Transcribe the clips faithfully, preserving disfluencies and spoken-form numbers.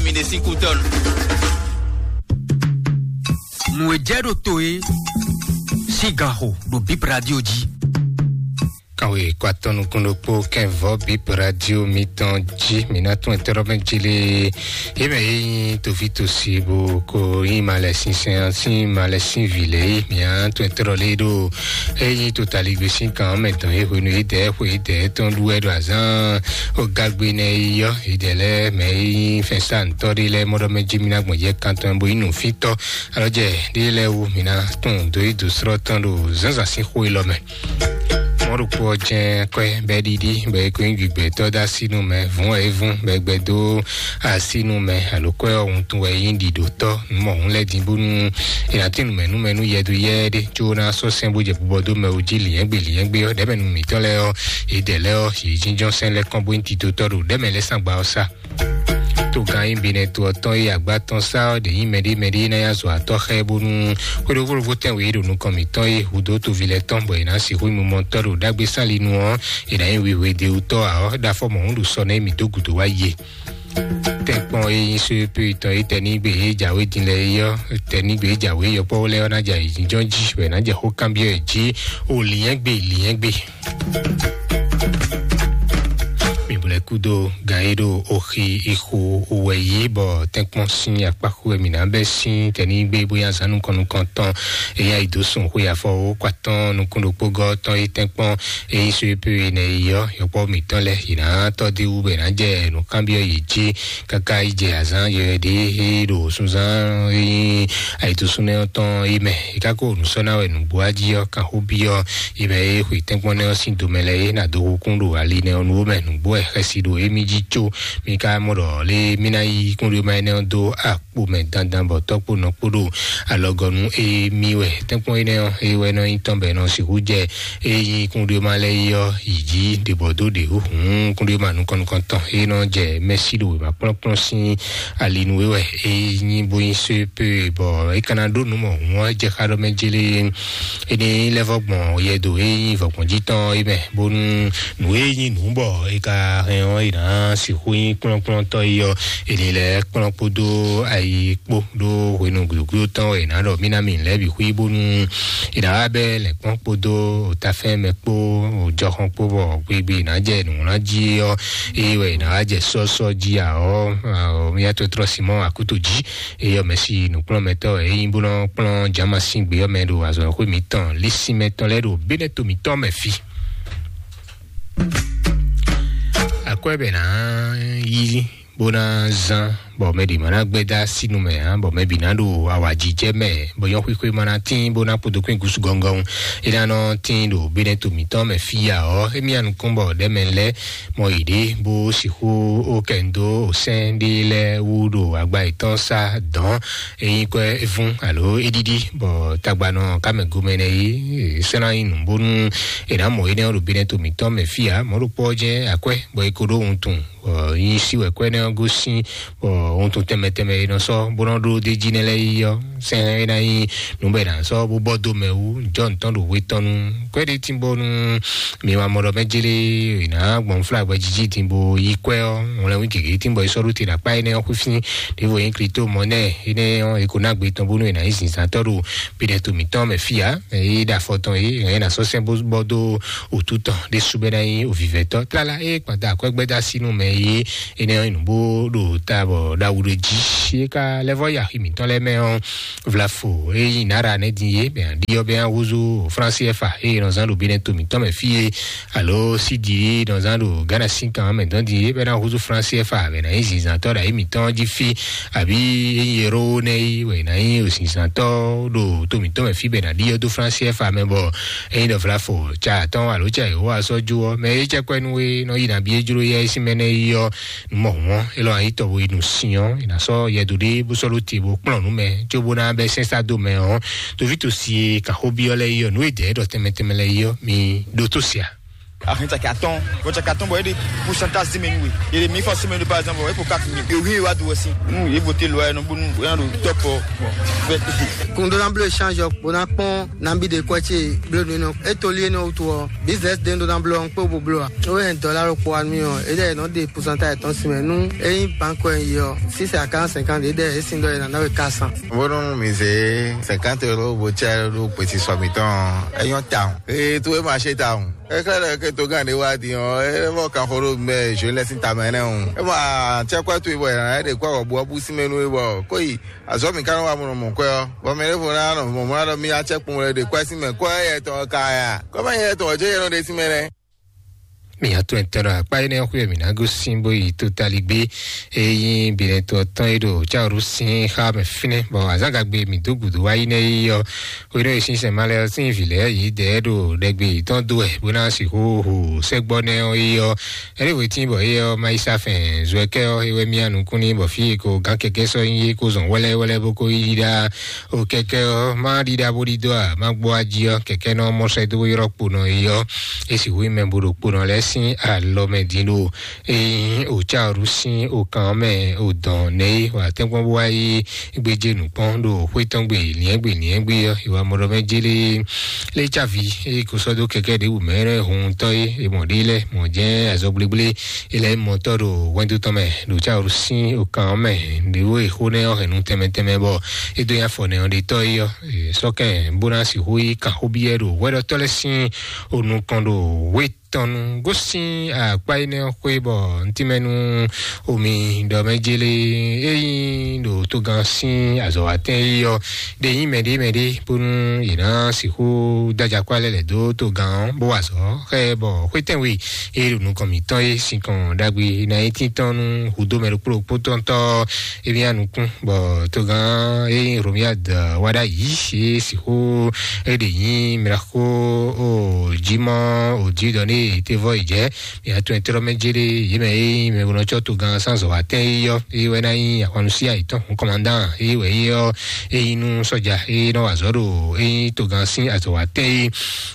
Mi ɖe sín kú tɔn. Nǔ e jɛ ɖo to e sín gan xo ɖo Bip Radio jí. Kanwe kó atɔ́ nukún ɖokpó kɛnvɔ Bip Radio mitɔn jí. Mi ná tún ɛtɛ́ ɖɔ mɛ jí lé. Yě mɛ yé nyí toví tosi bó ko nyí malɛ sínsɛn sín malɛ sín vǐ lě. Mi ná tún ɛtɛ́ ɖɔ lé ɖo é nyí totaligbé sín kan mɛ dɔn é hwenu é dɛ xwe é dɛ tɔn ɖu wɛ ɖo azán ó gágbé nɛ é yɔ é dɛ lɛ mɛ é nyí fɛnsántɔ́ ɖé lɛ mɔɖɔ mɛ jí mi ná gbɔn yɛ kan tɔn bó nyí nǔfítɔ́ alɔjɛ ɖé lɛ wú. Mi ná tún dó yi dó srɔ́ tɔn ɖo zǎnzǎn sín xó élɔ́ mɛ. Mɔɖokpó ɔ́ jɛ́n kwɛ́ bɛ́ ɖiɖi bɔ é ko nyí gbigbɛtɔ́ dó asínú mɛ vǔn wɛ é vún bɔ é gbɛ dó asínú mɛ alo kwɛ́ ɔ́ wuntun wɛ é nyí ɖiɖotɔ́ nǔmɔhún lɛ́ɛ din bónú è nǎ tín nǔmɛnúmɛ nú yɛduyɛ́ ɖé có ná sɔ́ sɛ́n bó jɛ bubɔ dó mɛ wú jí lǐnyɛ́gbe lǐnyɛ́gbe ɔ́ ɖɛ̌mɛ nú mǐtɔn lɛ́ɛ ɔ́ yě dɛ lɛ́ɛ ɔ́ yě jínjɔ́n sɛ́n lɛ́ kɔn bó nyí titotɔ́ ɖo ɖɛ̌mɛ lɛ́ɛ sán gba ɔ́ sá. Togán nyí Benɛto ɔ́ tɔn e agbá tɔn sá ɔ́ ɖě nyí mɛɖé mɛɖé ná nyi azɔ̌watɔ́ xá ɛ bónú xwéɖoxóɖoxó tɛ́nwe e ɖo nukɔn mǐtɔn e hudó toví lɛ́ɛ tɔn bɔ è nǎ sixú nyí mumɔtɔ́ ɖo ɖagbe sálinu ɔ́, è nǎ nyí wihwedewutɔ́ ǎ ɔ́, ɖo afɔ mɔ̌hún ɖo sɔ nɛ́ mǐ dó gǔdo wá yi e. Tɛ́nkpɔ́n e nyí só e pé tɔn e tɛnígbe e jǎwe din lɛ́ɛ é ɔ́, tɛnígbe e jǎwe yɔkpɔ́ lɛ́ɛ ɔ́ ná jɛ ayǐjínjɔ́n jí, bɔ è nǎ jɛ xó kanbyɔ́ ɛ jí, o lǐnyɛ́gbe lǐnyɛ́gbe. Mi bo lɛ́ kúdó gan e ɖo oxi ixo wɛ yí bɔ tɛ́nkpɔ́n sín akpáxu wɛ mǐ ná bɛ́ sín tɛnígbe bóyá zǎn nukɔn nukɔntɔn e nyi ayǐ dó sun xwe afɔ wó kó atɔ́ɔ́n nukún ɖokpó gɔ́ tɔn e tɛ́nkpɔ́n e nyí só e pé e nɛ yi ɔ́, yɔkpɔ́ mǐtɔn lɛ́ɛ yě ná tɔ́ dó wú bɔ è nǎ jɛ nǔkanbyɔ́ yě jí káká yi jɛ azǎn yɔyɔ ɖé e ɖo sunzán e nyí ayǐdúsúnɔ tɔn é mɛ. È ka ko nǔ sɔ́ ná wɛ nǔgbó wá jí ɔ́, kan xó byɔ́ é mɛ e xwe tɛ́nkpɔ́n nɛ́ ɔ́ sín domɛ lɛ́ɛ é ná dó hukún ɖo ali nɛ́ ɔ́ nu ó mɛ. Nǔgbó wɛ xɛsi ɖo émí jí có mì ka mɔ ɖɔ lé mì ná yí kúnɖéma énɛ́ ɔ́ dó akpo mɛ dandan bɔ tɔ́ kpó nɔ kpó ɖo alɔgɔnu émí wɛ. Tɛ́nkpɔ́n énɛ́ ɔ́ é wɛ nɔ nyí tɔn bɔ è nɔ sixú jɛ é nyí kúnɖéma lɛ́ɛ yi ɔ́ yi jí ɖě bɔ dó ɖě hǔhǔn kúnɖéma nukɔn nukɔn tɔn é nɔ jɛ mɛsí ɖo wěma kplɔ́nkplɔ́n sín ali nú é wɛ é nyí bó nyí só é pé bɔ é ka ná ɖó nǔ mɔ hǔn ɔ́ jɛ xá ɖɔ mɛ jélé. Énɛ́ lɛ́ vɔ gbɔn yɛdo e nyí vɔ̌gbɔn jí tɔn é mɛ, bónú nǔ e nyí nǔ bɔ è ka hɛn ɔ́, è nǎ sixú nyí kplɔ́nkplɔ́ntɔ́ é ɔ́, è nǐ lɛ́ kplɔ́n kpódó ayi kpó ɖó hwenu gǔdúgúdú tɔn wɛ è nǎ ɖɔ mí ná mì lɛ́ bǐ xwí, bónú è nǎ wá bɛ́ lɛ̌nkpɔ́n kpódó tafɛ́n mɛ kpó jɔxɔn kpó bɔ gbigbe è nǎ jɛ nǔwlán jí ɔ́, é wɛ è nǎ wá jɛ sɔ́sɔ́ jí ǎ ɔ́, mía tɔtrɔ Simɔ́ɔ Akúto jí. Eyɔ mɛ si nǔkplɔ́nmɛtɔ́ wɛ é nyí bó nɔ́ kplɔ́n Jamasíngbe ɔ́ mɛ ɖo azɔ̌xwé mǐtɔn lísínmɛ tɔn lɛ́ɛ ɖo Bɛ́nɛto mǐtɔn mɛ fí. Akwɛ́ bɛ nǎ yí bó ná zán bɔ mɛ ɖě ma ná gbɛ́ dó así nu mɛ ǎ, bɔ mɛ bǐ ná ɖo awǎjijɛ mɛ, bɔ nyɔ̌xwíxwé ma ná tín bó ná kpodo kpín gúsu gɔngɔn. É ná nɔ tín ɖo Bɛ́nɛto mǐtɔn mɛ fí ǎ ɔ́, émí anukún bɔ ɖɛ̌mɛ lɛ́ɛ mɔ yěɖée bó sixú ó kɛ nu dó sɛ́n ɖé lɛ́ɛ wú ɖo agba yětɔn sá dɔ̌n. Ényí kwɛ́ é vún alo é ɖíɖí bɔ tagbanɔ kámɛ gomɛ nɛ é sɛ́n ná nyí nǔ bónú è nǎ mɔ énɛ́ ɔ́ ɖo Bɛ́nɛto mǐtɔn mɛ fí ǎ. Mɔ̌ ɖokpó ɔ́ jɛ́n akwɛ́ bɔ é ko ɖó wuntun, bɔ nyí sí wɛ kwɛ́ énɛ́ ɔ́ gosín, bɔ wuntun tɛnmɛ tɛnmɛ e nɔ sɔ́ bó nɔ́ ɖó d'é jí nɛ́ lɛ́ɛ yi ɔ́, sɛ́n é ná nyí nǔ bɔ è nǎ sɔ́ bó bɔ dó mɛ wú jɔ́ nǔtɔn ɖo hwe tɔn nu. Kwɛ́ ɖé tínbɔ́nu mi wá mɔ ɖɔ mɛ jélé è nǎ gbɔn fla gbɛjijì dín bó yí kwɛ́ ɔ́, wlɛ́nwí gěgé dín bɔ é sɔ́ ɖó te ɖo akpá énɛ́ ɔ́ xwífín ɖěvo nyí Klito mɔ nɛ́ énɛ́ ɔ́, è ko ná gbe tɔn bónú è nǎ nyí zǐnzántɔ́ ɖo Bɛ́nɛto mǐtɔn mɛ fí ǎ. É ɖo afɔ tɔn é, è nǎ sɔ́ sɛ́n bó bɔ dó wǔtu tɔn ɖésú bɔ é ná nyí ovǐvɛ́tɔ́. Tlala é kpanta akwɛ́gbɛ́dá sínú mɛ é énɛ́ ɔ́ nyí nǔ bó ɖo ta bɔ ɖo awu ɖo jí. É ka lɛ́ vɔ́ yi axi mǐtɔn lɛ́ɛ mɛ ɔ́, vlafo e nyí Nara nɛ́ din é, bɛn aɖi ɔ́ bɛn ahúzú Fransi Ɛfa e nɔ zán ɖo Bɛ́nɛto mǐtɔn mɛ fí é, alo Sidi e nɔ zán ɖo Ghana sín kan mɛ dɔn din é, bɛn ahúzú Fransi Ɛfa bɛn ná nyí zinzantɔ́ ɖo ayé mǐtɔn jí fí, àbí e nyí Ero nɛ́ é wɛ ná nyí zinzantɔ́ ɖo to mǐtɔn mɛ fí bɛn aɖi ɔ́ dó Fransi Ɛfa mɛ bɔ e nyí ɖɔ vlafo tsa atɔ́ alo tsa Yehowa sɔ́ jó ɔ́, mɛ e cɛ́ kwɛ́ nú é nɔ yi nǎ bí é jló yɛ é sín mɛ nɛ́ yi ɔ́, nú mɔ hǔn ɔ́, é lɔn ayǐ tɔn bo yi nu sin ɔ́, è nǎ sɔ́ yɛdo ɖé bó sɔ́ ɖó te bó kplɔ́n nǔ mɛ, cóbó ná bɛ́ sɛ́nsá dó mɛ ɔ́, toví tosi e kan xó byɔ́ lɛ́ɛ yi ɔ́, nǔ e dɛ̌ ɖɔ tɛnmɛ tɛnmɛ lɛ́ɛ yi ɔ́, mi ɖótó se a? Ahin caki atɔn, bɔ caki atɔn bɔ e de pourcentage si mɛ nu we. E de mi fɔ si mɛ nu par exemple, e ko quatre mille. E wi wa do wɛ si. Nu e vote loi e nɔ bonu e na do top. Bon, fait. Kundo na blo échange, bo na kpɔn na bi de kwɛ ce blo nu nɔ. E to li e nɔ wutu ɔ, business de do na blo ɔn kpo bo blo a. O yɛ dɔla ro kpo anu ɔ, e de nɔ de pourcentage tɔn si mɛ nu. E yin banque ɔ yi ɔ, six à quarante cinquante, e de e sin dɔ e na na we quatre cents. Bonu mi zé cinquante euros bo tsɛ ɖo gbèsè sɔ mǐtɔn, é nyɔ́ tawun. Ee, tó é ma ṣe tawun. Kɛkɛ ɖe ke to gán ɖé wá din ɔ́, é vɔ kan xo ɖo mɛ zwe lɛ sín tamɛ nɛ́ o. É ma tsɛ kwɛ towe bɔ è nǎ ɖe kó awɔ bú ɔ́ bú sín mɛ nú é bɔ kó yi azɔ̌ mǐ ka nɔ wá mɔ nɔ mɔ kwɛ ɔ́, bɔ mɛ ɖěvo ná nɔ mɔ mɔ ná ɖɔ mí atsɛ kpɔn wɛ ɖe kwɛ sín mɛ kwɛ yɛ tɔn ka ya. Kɔ́ mɛ yɛ tɔn jɛ yɛ nɔ ɖe sín mɛ nɛ́. Mi atɔn etɔn ɖo akpa énɛ́ xwé mǐ ná gosín bó yi totaligbé. Ényí binɛtɔ tɔn e ɖo cáwuru sín xá mɛ fínɛ́, bɔ azǎngagbe mǐ dó gǔdo wá yi nɛ́ yi ɔ́, xwéɖɔ e sínsɛn malɛ ɔ́ sín vǐ lɛ́ɛ yě dɛ ɖo ɖɛgbe yětɔn dó wɛ bó ná sixú hu sɛ́gbɔ́ nɛ́ ɔ́ yi ɔ́. Ɛɖé wětín bɔ é ɔ́ má yi sá fɛn zɔɛkɛ́ ɔ́, é wɛ mía nukún ní bɔ fí e ko gǎn kɛkɛ́ sɔ́ nyí é ko zɔn wɛ́lɛ́wɛ́lɛ́ bó ko yi ɖá. O kɛkɛ ɔ́, má ɖiɖa bó ɖidó a, má gbɔ ají ɔ́, kɛkɛ nɔ mɔ sɛ́ dó ylɔ́ kponɔ yi ɔ́, é sixú nyí mɛ bo ɖo kponɔ lɛ́ɛ sín alɔ mɛ din ɖo. Ényí o cáwuru sín o kan ɔ́ mɛ o dɔn nɛ́ é, wǎ tɛ́nkpɔ́n bó wá yi gbéjé nǔkpɔ́n ɖo xwé tɔn gbe liɛ́ngbè liɛ́ngbè ɔ́, ìwà mɔɖɔ mɛ jélé lé cávi é ko sɔ́ dó kɛkɛ ɖěbǔ mɛ lɛ́ɛ hun tɔ́ é, é mɔ ɖé lɛ́ɛ mɔ jɛ́n azɔgblégblé. Ilẹ̀ mɔtɔ́ ɖo hwɛndo tɔn mɛ ɖo cáwuru sín okan ɔ́ mɛ. Ɖěvo e xó nɛ́ ɔ́ hɛn nu tɛnmɛ tɛnmɛ bɔ é dó nyi afɔ nɛ́ ɔ́ ɖe tɔ́ é ɔ́, sɔ́kɛn bó ná sixú yi kan xó byɔ́ ɖo hwɛɖɔtɔ́ lɛ́ɛ sín onukɔn ɖo hwé tɔn nu gosín akpá énɛ́ ɔ́ xwé bɔ ntínmɛnú omi ɖɔ mɛ jélé é nyí ɖo togán sín azɔ̌watɛn é ɔ́ ɖe nyí mɛɖé mɛɖé bónú yě ná sixú dájakpá lɛ́ lɛ̌ dó togán ɔ́ bó wa azɔ̌ xá ɛ bɔ xwétɛnwe e ɖo nukɔn mǐtɔn é sinkɔn ɖagbe ná nyí tíntɔ́n nú hudó mɛ ɖokpó ɖokpó tɔn tɔ́ émí anukún bɔ togán é nyí Romiad wá ɖ'ayǐ é sixú é ɖě nyí mlako o jimɔ o jidɔ ní tevɔ yi jɛ mia tún ɛtrɔ mɛ jere yé mɛ é nyí mɛ bó nɔ tsɔ togán sanzɔ atɛn é yɔ é wɛ ná nyí ahwannusi ayitɔn hun kɔmandan é wɛ é yɔ é nyí nú sɔja é nɔ wà zɔ ɖo é nyí togán sín azɔ atɛn é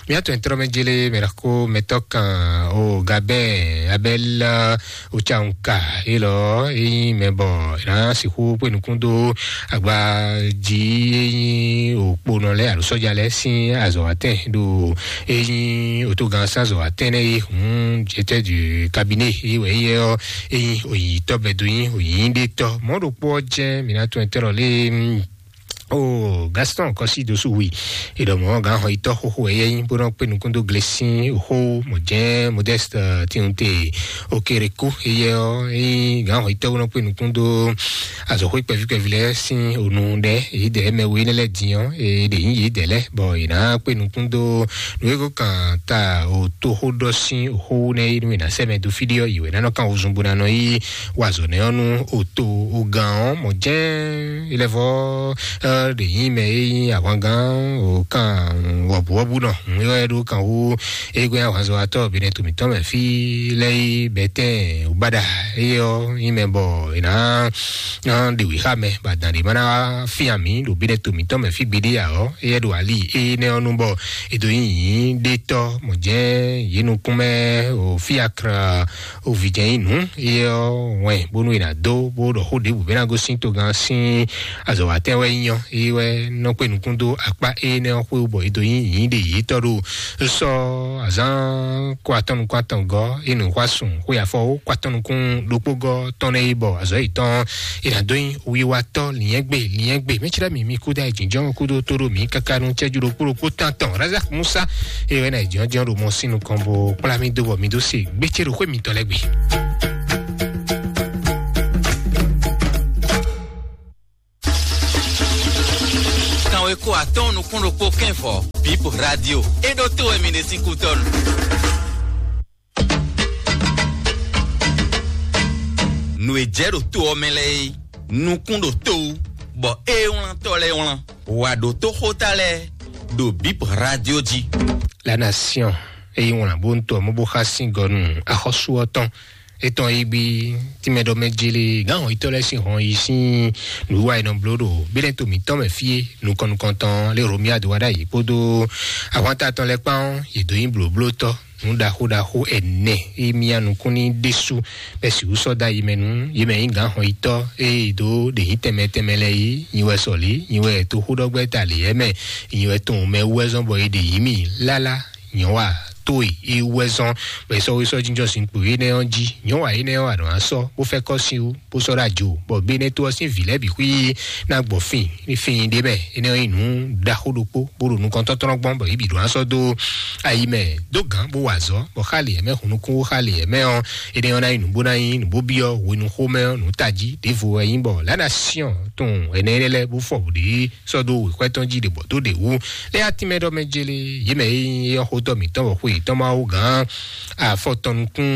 mia tún ɛtrɔ mɛ jere mɛ ɖako mɛtɔ kan o gabɛ abɛla Ocanka élɔ́ é nyí mɛ bɔ è nǎ sixú kpé nukún dó agbají é nyí òkponɔ lɛ́ɛ alo sɔ́ja lɛ́ɛ sín azɔ̌watɛn ɖo é nyí otógan sín azɔ̌watɛn nɛ́ é hǔn jɛtɛ́ du kabinɛ é wɛ é yɛ ɔ́ é nyí òyìyítɔ́ bɛdo nyí òyìyíɖétɔ́ mɔ̌ ɖokpó ɔ́ jɛ́n mǐ ná tún ɛtɛ́ lɔ lé. O Gaston kɔsi dosu wi eɖɔ mɔ gán xɔ itɔ xoxo ɛyɛ nyi bó nɔ kpé nukún dó glesi xó mɔ jẹ́ Modeste tinute Okereko eyɛ ɔ eyi gán xɔ itɔ bó nɔ kpé nukún dó azɔxó kpɛví kpɛví lɛ sín onu ɖɛ èyí dɛ mɛ wo yi lɛ dín ɔ èyí dɛ yín yìí dɛ lɛ bɔ yìí ná kpé nukún dó nuyeko kan ta o tó xó ɖɔ sín xó nɛ yi nú yìí ná sɛ mɛ dó fí ɖé ɔ yìí wɛ nánɔ kan wozun bó nánɔ yí wazɔ nɛ ɔ nú o tó o gán ɔ mɔ jẹ́ ilẹ̀ fɔ ɖe yín mɛ e nyí ahwangán o kan wɔbuwɔbu nɔ ŋyɔ ɛ ɖo kan wú egbé ahwanzɔwatɔ bene tomitɔ mɛ fi lɛ yi bɛtɛn ubada eye ɔ nyí mɛ bɔ ena ɖe wí xa mɛ ba dan ɖe mana fi ami ɖo bene tomitɔ mɛ fi gbeɖe ya ɔ eye ɖo ali eye nɛ ɔnu bɔ edo nyí yín ɖe tɔ mɔ jɛ yín nukún mɛ o fi akra Ovijɛnyinu ye ɔ wɛn bónú è nǎ dó bó ɖɔ xó ɖěbǔ bɛ́ ná gosín togán sín azɔ̌watɛn wɛ nyí ɔ́, é wɛ nɔ kpé nukún dó akpá énɛ́ ɔ́ xwé bɔ é dó nyí nyǐɖe yětɔn ɖo sɔ́ azǎn kó atɔ́ nukún atɔn gɔ́ é nǔ xwá sùn xwé afɔ ó kó atɔ́ nukún ɖokpó gɔ́ tɔn nɛ́ é bɔ azɔ̌ yětɔn é nǎ dó nyí wiwatɔ́ liɛ́ngbè liɛ́ngbè mɛ̌ cíɖá mǐ mi kúdó ayǐjínjɔ́n kúdó tó ɖo mǐ káká nú cɛ́jú ɖokpó ɖokpó tán tɔn Razak Musa é wɛ ná jɔ́njɔ́n ɖo mɔ sín nukɔn bó kplá mì dó bɔ mi dó se gbécé ɖo xwé mitɔn lɛ́ɛ gbe. Kanwe kó atɔ́n nukún ɖokpó kɛ́nfɔ Bip Radio é ɖó tó wɛ mi ɖe sín kútɔ́nu. Nǔ e jɛ ɖo to ɔ́ mɛ lɛ́ɛ é nukún ɖo to wú bɔ é wlántɔ́ lɛ́ɛ wlán wǎ ɖó tó xóta lɛ́ɛ ɖo Bip Radio jí. La nation eyi wlán bó ń tɔ mɔ bó xá sín gɔ nú axɔ́sú ɔ́ tɔn etɔn yi gbi tìmɛ ɖɔ mɛ jele gán hɔn yitɔ lɛ sín hɔn yi sín nǔwiwa yi nɔ bló ɖo bínɛ to mǐtɔn mɛ fíe nukɔn nukɔntɔn lé Romiad wá ɖ'ayǐ kpódó ahwanta tɔn lɛ kpán yě dó nyí blǒblótɔ́ nǔ ɖaxó ɖaxó ɛnɛ e mia nukún ní ɖésú bɛ sixú sɔ́ dó ayi mɛ nú yě mɛ nyí gǎn xɔnyitɔ́ e dó ɖě nyí tɛnmɛ tɛnmɛ lɛ́ɛ yí, nyi wɛ sɔlí, nyi wɛ toxóɖɔgbɛ́ ta lě yɛ mɛ, nyi wɛ tɔn mɛ wú wɛ zɔ́n bɔ è ɖe yǐ mì lála nyɔ̌wa tó e é wú wɛ zɔ́n, bɔ è sɔ́ wé sɔ́ jínjɔ́n sin kpo énɛ́ ɔ́ jí. Nyɔ̌wa énɛ́ ɔ́, a nɔ wá sɔ́ bó fɛ́ kɔ́ sin wú bó sɔ́ ɖó ajo, bɔ Benɛto ɔ́ sín vǐ lɛ́ɛ bǐ xwí ná gbɔ fin ní fin ɖé mɛ. Énɛ́ ɔ́ nyí nǔ ɖaxó ɖokpó bó ɖo nukɔntɔ́tlɔ́n gbɔn, bɔ yě bǐ ɖo ná sɔ́ dó ayi mɛ dó gǎn bó wa azɔ̌, bɔ xá lě mɛ hun nukún xá lě mɛ ɔ́, énɛ́ ɔ́ ná nyí nǔ bó ná nyí nǔ bó byɔ́ hwenu xomɛ ɔ́ nǔ tají ɖěvo wɛ nyí, bɔ lánà siɔn tun ɛnɛ énɛ́ lɛ́ɛ bó fɔ bǔ ɖě sɔ́ dó wěxwɛ́ tɔn jí ɖě bɔ dó ɖě wú. Lɛ́ atínmɛ ɖɔ mɛ jélé, yě mɛ e nyí éyɔ́ xótɔ́ mǐtɔn bɔ xwe yětɔn ma wú gǎn afɔtɔn nukún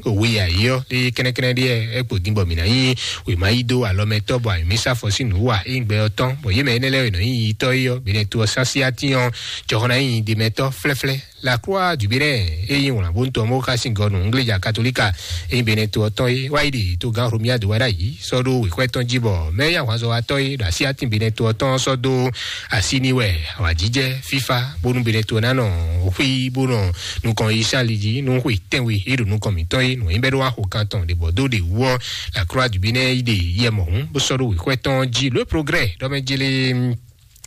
òwe yǎyí ɔ́, lé kɛ́nɛ́kɛ́nɛ́ ɖé ɛ kpo din bɔ mǐ ná nyí wěma yí dó alɔmɛtɔ́ bɔ ayǐmísá fɔ sín nǔ wa é nyí gbɛ ɔ́ tɔn, bɔ yě mɛ énɛ́ lɛ́ɛ e nɔ nyí yitɔ́ é ɔ́, Benɛto ɔ́ sín así atín ɔ́, jɔhɔn ná nyí ɖemɛtɔ́ flɛ́flɛ́. La Croix du Bénin e nyí wlǎnbóntɔ́ mɔ̌ xá sin gɔ́ nú Ngléja Katolíka e nyí Benɛto ɔ́ tɔn é wá yi ɖe togán Romuald wá ɖ'ayǐ sɔ́ ɖó wěxwɛ́ tɔn jí, bɔ mɛ e nyí ahwanzɔ́watɔ́ é ɖo así atín Benɛto ɔ́ tɔn ɔ́ sɔ́ dó así ní wɛ awǎjijɛ fífá bónú Benɛto ná nɔ xwí bó nɔ nukɔn yi sín ali jí nú xwe tɛ́nwe é ɖo nukɔn mǐtɔn é, nǔ nyí bɛ́ ɖó wá xo kan tɔn ɖě bɔ dó ɖě wú ɔ́, La Croix du Bénin yi ɖe yɛ mɔ̌hún bó sɔ́ ɖó wěxwɛ́ tɔn jí. Le Progrès ɖɔ mɛ jélé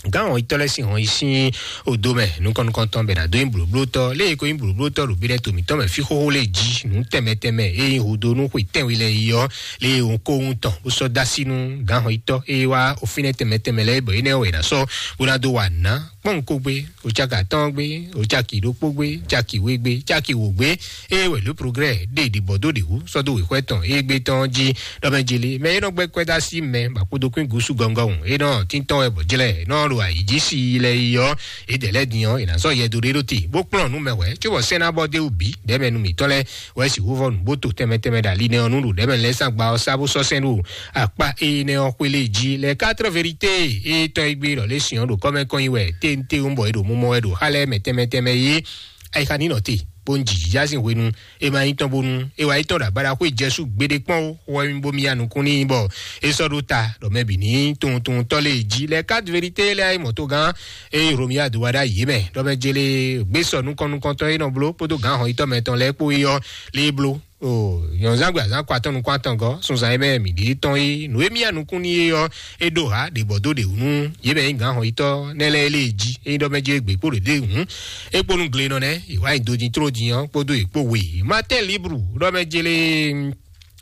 gán hɔnyitɔ́ lɛ́ɛ sín hɔnyi sín odo mɛ nukɔn nukɔntɔn bɛ ná dó nyí blǒblótɔ́ lé e ko nyí blǒblótɔ́ ɖo Benɛto mǐtɔn mɛ fí xóxó lé jí nǔ tɛnmɛ tɛnmɛ e nyí hudó nú xwe tɛ́nwe lɛ́ɛ yi ɔ́, lé e hɔn ko wuntɔn bó sɔ́ dó así nú gǎn hɔnyitɔ́ e wá ofínɛ́ tɛnmɛ tɛnmɛ lɛ́ɛ bɔ énɛ́ wɛ è nǎ sɔ́ bó ná dó wa nǔ ná kpɔ́n kó gbé, o caki atɔ́ɔ́n gbé, o caki ɖokpó gbé, caki we gbé, caki wǒ gbé, eye wɛ Le Progrès ɖe ɖibɔ dó ɖě wú sɔ́ dó wěxwɛ́ tɔn e gbé tɔn jí ɖɔ mɛ jeli mɛ e nɔ gbɛ́ kwɛ́ dó así mɛ bɔ akpodokún gúsú gɔngɔn e nɔ tíntɔn wɛ bɔ jlɛ nɔ ɖo ayǐ jí si lɛ yi ɔ́, e dɛ̌ lɛ́ɛ din ɔ́, è nǎ sɔ́ yɛ dó ɖé ɖó te bó kplɔ́n nú mɛ wɛ̌ cóbɔ sɛ́n ná bɔ dó wú bǐ ɖɛ̌mɛ nú mǐtɔn lɛ́ɛ wɛ sixú vɔ nǔgbó to tɛnmɛ tɛnmɛ ɖo ali nɛ́ ɔ́ nú ɖo ɖɛ̌mɛ lɛ́ɛ sán gba ɔ́ sá bó sɔ́ sɛ́n ɖo akpá énɛ́ ɔ́ xwé lé jí. Les Quatre Vérités e tɔn e gbé ɖɔ lé sìn ɔ́ ɖo kɔ́mɛ kɔn nyi wɛ téntewú bɔ è ɖo mumɔ wɛ ɖo xá lɛ́ɛ mɛ tɛnmɛ tɛnmɛ yé. Ayixa ní nɔ te bó ń jǐjǐjá sín hwenu e ma nyí tɔn bónú é wá yi tɔn ɖo agbada xwé Jɛsu gbeɖé kpɔ́n ó, xɔ wɛ mi bó mi ya nukún n'i bɔ é sɔ́ ɖó ta ɖɔ mɛ bǐ ní tunwuntunwuntɔ́ lé jí. Les Quatre Vérités lɛ́ɛ ayé mɔ̌togán eye Romuald wá ɖó ayǐ mɛ ɖɔ mɛ jele gbé sɔ nukɔn nukɔntɔn e nɔ bló kpódó gǎn hɔnyitɔ́ mɛtɔn lɛ́ɛ kpó é ɔ́ lé bló. O nyɔ̌nzán gbe azán kɔ atɔn nukún atɔngɔ́ sunzan e mɛ mǐ ɖe tɔn é nǔ e mì ya nukún n'i é ɔ́, é ɖó ha ɖě bɔ dó ɖě wú nú yě mɛ nyí gǎn hɔnyitɔ́ nɛ́ lɛ́ɛ lé jí é nyí ɖɔ mɛ jele gbě kpó ɖě ɖé hǔn é kpó nú glenɔ nɛ́ è wá nyi do din tló din ɔ́ kpódó è kpó we. Matin Libre ɖɔ mɛ jele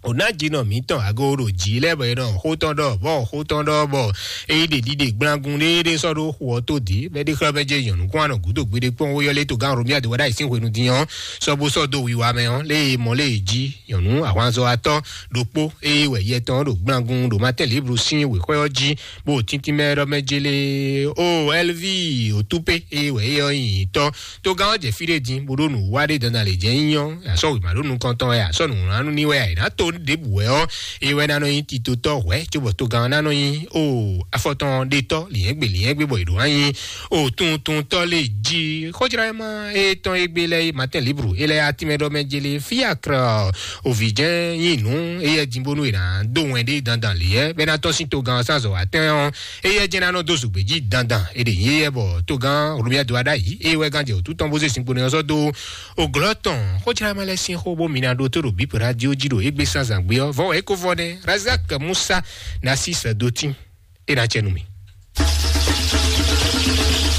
o ná jinɔ mǐtɔn ago ɖo jǐ lɛ́ɛ bɔ è nɔ xó tɔn ɖɔ bɔ xó tɔn ɖɔ bɔ é yí ɖe ɖiɖe gblangun ɖéeɖé sɔ́ ɖó xu ɔ́ tó dǐ bɛ́ ɖé xlɔ́ mɛ jɛ nyɔ̌nu kún anɔ gǔdo gbeɖé kpɔ́n ó yɔ́ lé togán Romuald wá ɖo ayǐ sín hwenu din ɔ́ sɔ́ bó sɔ́ dó wiwa mɛ ɔ́ lé e mɔ lé e jí nyɔ̌nu ahwanzɔ́watɔ́ ɖokpó eye wɛ yɛ tɔn ɖo gblangun ɖo Matin Libre sín wěxwɛ́ ɔ́ jí bó tíntín mɛ ɖɔ mɛ jele o Elvi Otupe eye wɛ é ɔ́ nyi tɔ́. Togán ɔ́ jɛ fí ɖé din bó ɖó nǔ wa ɖé dandan lě jɛ nyínyɔ́, asɔ́ wěma ɖó nukɔn tɔn wɛ, asɔ́ nǔwlánú ní wɛ, ayǐ ná to ɖěbǔ wɛ ɔ́, é wɛ ná nɔ nyí titotɔ́ hwɛ̌ cóbɔ togán ɔ́ ná nɔ nyí o afɔtɔn ɖetɔ́ lǐnyɛ́gbe lǐnyɛ́gbe bɔ è ɖǒ ná nyí o tuntuntɔ́ lé jí. Xójlá ma e tɔn e gbé lɛ́ɛ Matin Libre é lɛ́ɛ atínmɛ ɖɔ mɛ jele fíakra òvǐjɛ́n nyí nǔ éyɛ́ din bónú è nǎ dó wɛn ɖé dandan lě yɛ bɛ́ ná tɔ́n sín togán ɔ́ sín azɔ̌ wa tɛ́n ɔ́, éyɛ́ jɛ́n ná nɔ dó zǔgbé jí dandan. È ɖe nyí éyɛ́ bɔ togán Romuald wá ɖ'ayǐ, é wɛ gán jɛ wǔtu tɔn bó zé sinkpo nɛ ɔ́ sɔ́ dó o glɔ́ tɔn. Xójlá ma lɛ́ɛ sín xó bó mi ná ɖó tó ɖo bípo radio jí ɖo égbé sán zǎngbé ɔ́, vɔ̌ wɛ é ko vɔ nɛ́. Razak Musa Nasis Dotin é ná cɛ nú mi.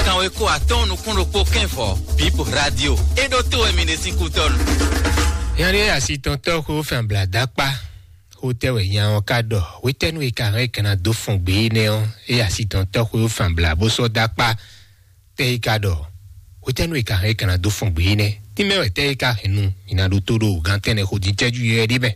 Kanweko atɔ́ɔ́n nukún ɖokpó kɛ́n vɔ bípo radio é ɖó tó wɛ mi ɖe sín kútɔ́nu. Yanni asi tɔn tɔ́ xó fɛn bla dákpá. Xó tɛ́ wɛ nya ɔ́ ka ɖɔ? Hwetɛ́nu e ka hɛn é ka ná dó fɔn gbé énɛ́ ɔ́, é asi tɔn tɔ́ xó fɛn bla bó sɔ́ dákpá. Tɛ́ é ka ɖɔ? Hwetɛ́nu e ka hɛn é ka ná dó fɔn gbé énɛ́? Tínmɛ wɛ tɛ́ é ka hɛn nu mi ná ɖó tó ɖo gán tɛ́nnɛ xó dín cɛ́jú yɛ ɖé mɛ.